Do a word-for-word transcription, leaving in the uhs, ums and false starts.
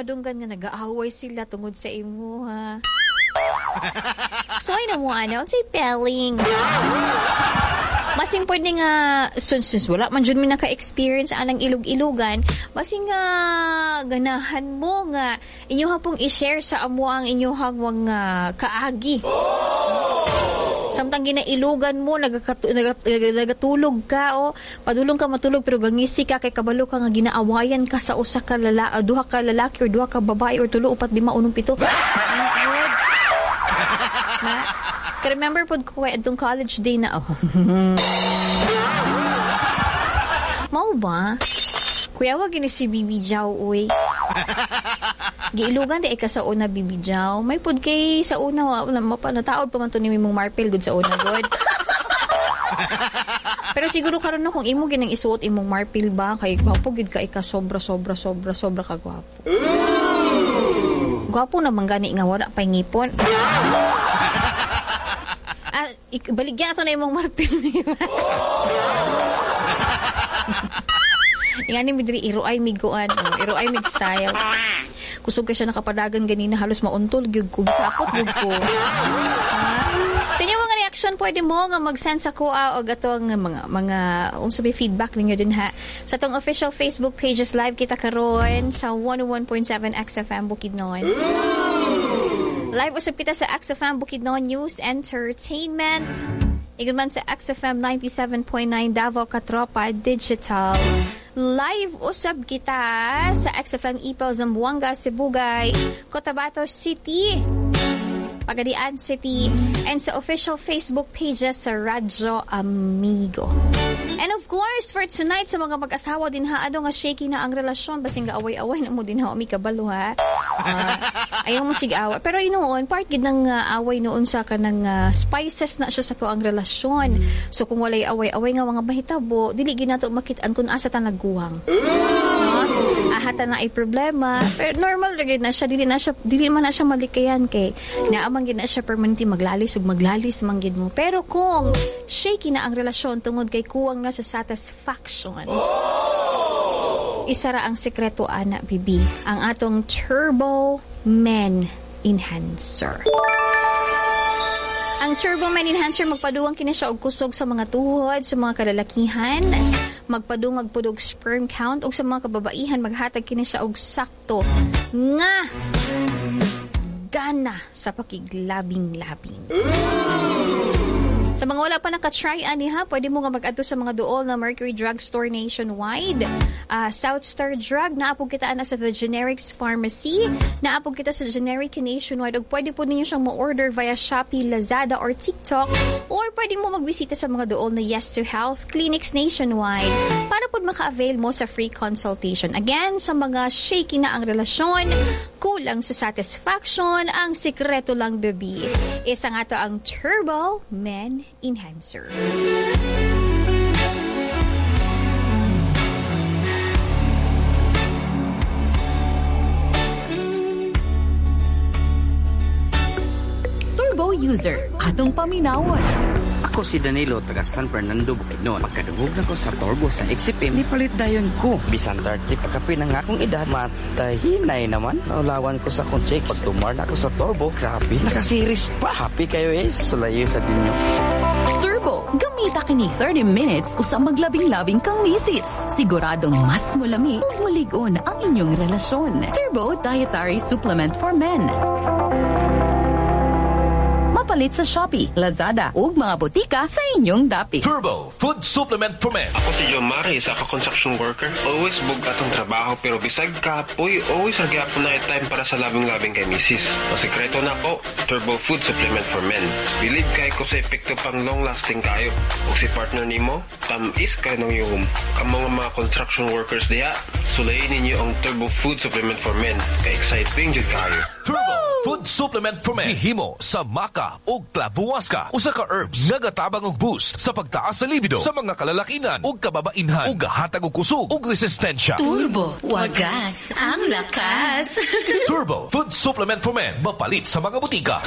madunggan nga nagaaway sila tungod sa imo ha. So ay na mo ana, unsay pelling? Masing pwede nga since, since wala man jud mi naka-experience anang ilog-ilugan, masing nga ganahan mo nga inyoha pong i-share sa amo ang inyohang mga kaagi. Samtang ginailugan mo, nagakatu, nagat, nagatulog ka o padulong ka matulog pero gangisi ka kay kabalo ka nga ginaawayan ka sa usa ka lala, duha ka lalaki or duha ka babae or tulo, upat, lima, unong, pito. Ma, ka-remember pod ko kay atong college day na oh. Mao ba? Kuya, wag gini si Bibi Jaw, uy. Giilugan di ay ka sa una, Bibi Jaw. May pod kay sa una, wa, wala, mapa, nataod pa man to ni mong marpil good sa una, good. Pero siguro karon no, kung imo ginang isuot imong marpil ba, kay gwapo gid ka ika sobra, sobra, sobra, sobra ka gwapo. Gwapo naman gani nga wala pa'y ngipon. Ah, ik-, baligyan ato na imong marpil. Ingani mi diri iro ay miguan, oh, iro ay mig style. Kusog kay siya nakapadagan ganina, halos mauntol gyud ko, gisapot gyud ko. Ah. Sa inyong mga reaction, pwede mo nga mag-send sa kuha og atong mga, mga unsa may feedback ninyo din ha. Sa atong official Facebook pages live kita karon sa one oh one point seven X F M Bukidnon. Live usab kita sa X F M Bukidnon News Entertainment. Ingon man sa X F M ninety-seven point nine Davao Katropa Digital. Live usab kita sa X F M Ipil, Zamboanga, Sibugay, Cotabato City, Pagadian City, and sa official Facebook pages sa Radyo Amigo. And of course, for tonight, sa mga mag-asawa din ha, ano nga shaky na ang relasyon, basing gaaway-away na mo din ha, umi kabalo ha. Uh, ayaw mo sig away. Pero noon, part gid ng uh, away noon sa kanang uh, spices na siya sa tuang relasyon. So kung walay away-away nga mga mahitabo, dili gid nato makit-an kung asa ta nagguwang. No? Ahata na ay problema. Pero normal ra gid na siya, dili na siya, dili man na siya malikayan kay naamang gid na siya permanente maglalis ug maglalis man gid mo. Pero kung shaky na ang relasyon tungod kay kuwang na sa satisfaction, isa ra ang sekreto ana bibi, ang atong Turbo Men Enhancer. Ang Turbo Men Enhancer magpaduwang kini siya og kusog sa mga tuhod, sa mga kalalakihan, magpadungag pud og sperm count, ug sa mga kababaihan maghatag kini siya og sakto nga gana sa pakiglabing-labing. Sa mga wala pa naka-try ani ha, pwede mo nga mag-adto sa mga duol na Mercury Drug Store nationwide. Uh, South Star Drug, naapog kita ana sa The Generics Pharmacy, naapog kita sa Generic Nationwide, ug pwede po ninyo siyang mo-order via Shopee, Lazada, or TikTok, or pwede mo magbisita sa mga duol na Yes to Health Clinics nationwide para po maka-avail mo sa free consultation. Again, sa mga shaky na ang relasyon, kulang sa satisfaction, ang sikreto lang, baby, isa nga to ang Turbo Men Enhancer. Turbo user, atong paminawon. Ako si Danilo, taga San Fernando, Bukidnon. Pagkadungog na ko sa Turbo sa X F M, nipalit dayon ko. Bisan thirty, pagkapi na nga akong edad, matahinay naman. Naulawan ko sa akong chicks. Pag tumar na ako sa Turbo, grabe, nakasiris pa. Happy kayo eh, sulayo sa dinyo. Turbo, gamita kini thirty minutes usa maglabing-labing kang misis. Siguradong mas mulami ug mulig-on ang inyong relasyon. Turbo Dietary Supplement for Men. Mapalit sa Shopee, Lazada ug mga botika sa inyong dapit. Turbo Food Supplement for Men. Ako si John Mari, isa ka construction worker. Always bug atong trabaho pero bisag kapoy, always ra gyapon na time para sa labing-labing kay misis. Ang sikreto nako, Turbo Food Supplement for Men. Bilib kay ko sa epekto pang long-lasting kayo. Ug si partner nimo, tamis kay nang yuhom. Kamo nga mga construction workers diha, sulayin ninyo ang Turbo Food Supplement for Men. Kay exciting jud kayo. Turbo Food Supplement for Men. Hihimo sa maca o clavuasca, usa ka herbs nagatabang og boost sa pagtaas sa libido sa mga kalalakinan ug kababainhan ug gahatag og kusog ug resistensya. Turbo, wagas ang lakas. Turbo Food Supplement for Men, mapalit sa mga butika.